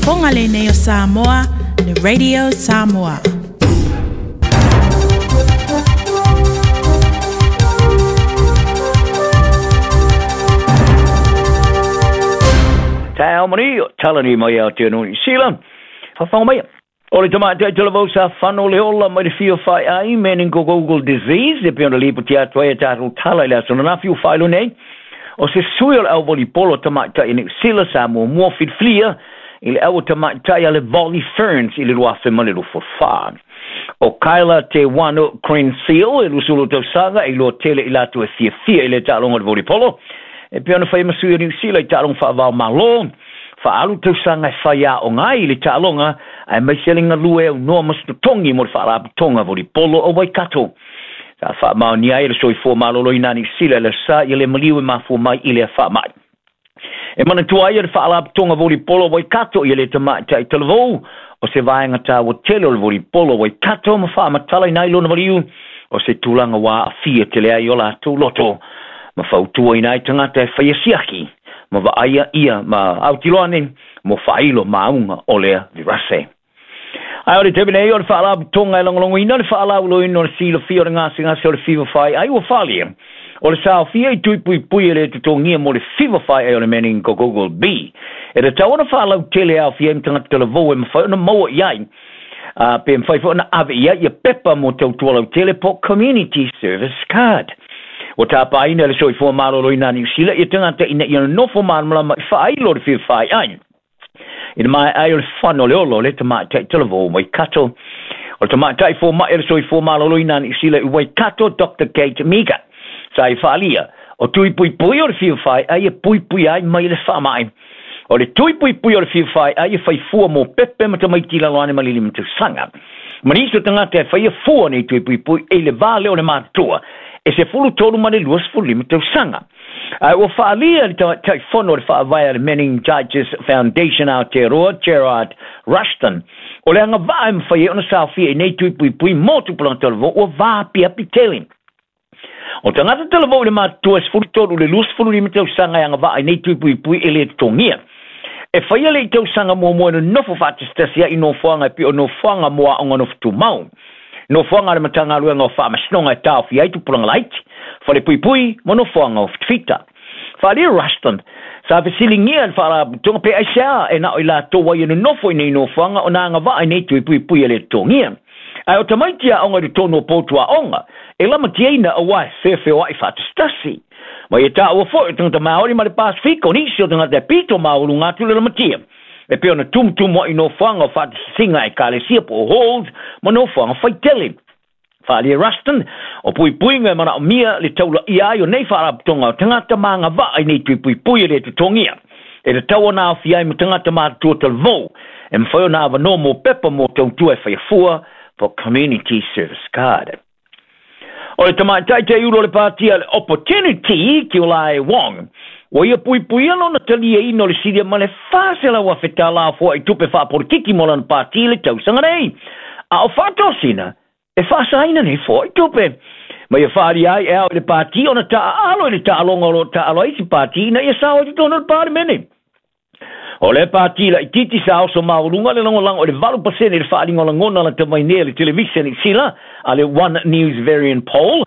Fofoga lenei o Samoa, le Radio Samoa. Taeao manuia, tala nei mai Aotearoa Niu Sila. Fafaga mai. O le tamaitai talavou sa fano le ola mai le fia faiai meningococcal disease e pei ona lipoti atu ai a tatou tala i le aso ananafi ua faailoa nei. O se sui o le au volleyball tamaitai i Niu Sila sa muamua filifilia i le au tamaitai a le Volley Ferns i le 2024. O Kyla Te Wano Crenseal e 20 tausaga e iloa tele i latou e fiafia i le taaloga o le volleyball e pei ona faia ma sui o Niu Sila i taaloga faavao Malo faaalu tausaga e fai aoga ai i le taaloga aemaise le galue aunoa ma se totogi mo le faalapotopotoga volleyball o Waikato. Sa faamaonia ai le soifua maloloina a Niu Sila i le aso Sa ia le maliu e mafua mai i lea faamai. E manatua ai e le faalapotopotoga volleyball o Waikato ia le tamaitai talavou o se vaega taua tele o le volleyball o Waikato ma faamatalaina ai lona maliu o se tulaga ua aafia tele ai o latou loto ma fautuaina ai tagata e faia siaki ma vaaia ia ma autiloa nei mo faailo mauga o lea virase. Ae o le taimi nei o le faalapotopotoga e lagolagoina le faalauiloaina o le silafia o le gasegase o le fiva faiai ua faaalia o le saofia i tui puipui e le totogia mo le fiva faiai o le meningococcal B. E tatau ona faalautele e aofia ai ma tagata talavou e mafai ona maua i ai pe mafai foi ona ave i ai ia pepa mo tautua lautele po o community service card. Ua tapaina e le soifua maloloina a Niu Sila ia tagata ina ia nonofo malamalama i faailo o le fiva faiai i le maea ai o le fano o le ola o le tamaitai talavou o Waikato. O le tamaitai fomai o le soifua maloloina a Niu Sila i Waikato, Dr Kate Meager, sa i faaalia, o tui puipui o le fiva faiai e puipuia ai mai le faamai. O le tui puipui o le fiva faiai e fai fua mo pepe ma tamaiti i lalo ane ma le 5 tausaga. Ma nisi o tagata e faia fua nei tui puipui e i le va lea o le matutua e 13 ma le 25 tausaga. Ae ua faaalia le Taitaifono o le Faavae a le Meningitis Foundation Aotearoa, Gerard Rushton, o le agavaa e mafai ai ona saofia i nei tui puipui mo tupulaga talavou ua vaapiapi tele. O tagata talavou i le matutua e 13 i le 25 tausaga e agavaa i nei tui puipui e le totogia. E faia le i tausaga muamua e nonofo faatasitasi ai i nofoaga e pei o nofoaga mo aoga nofo tumau, nofoaga a le Matagaluega o Faamasinoga e taofia ai tupulaga laiti, falepuipui ma nofoaga o fitafita. Faaalia Rushton, sa fesiligia e le Faalapotopotoga pe aisea e na o i latou ai e nonofo i nei nofoaga ona agavaa i nei tui puipui e le totogia. Ae o tamaiti aoga i totonu o potu aoga e lamatiaina aua e feofeoai faatasitasi. Ma ia taua foi o tagata Maori ma le Pasifika o nisi o tagata e pito maualuga atu le lamatia e pei ona tumutumu ai i nofoaga o faatasisiga a ekalesia po o halls ma nofoaga faitele. Faaalia Ruston, o puipuiga e manaomia le taulaia ai o nei faalapotopotoga o tagata ma agavaa i nei tui puipui e le totogia. E tatau ona aofia ai ma tagata matutua talavou e mafai ona avanoa mo pepa mo tautua e faia fua po community service card. O le tamaitai teiulu o le pāti a le Opportunity, Kiolae Wong, ua ia puipuia lona taliaina o le silia ma le $400,000 tala foai tupe faapolitiki mo lana pāti i le tausaga nei. A o faatosina, e faasaina nei foai tupe. Ma ia faaalia ai e ao i le pāti ona taaalo i le taaloga o lo o taaalo ai isi pāti ina ia sao ai totonu o le Palemene. O le pāti laitiiti sa oso maualuga le lagolago i le 8% i le faaaliga o lagona lata mai nei a le televise Niu Sila a le One News Varian Poll.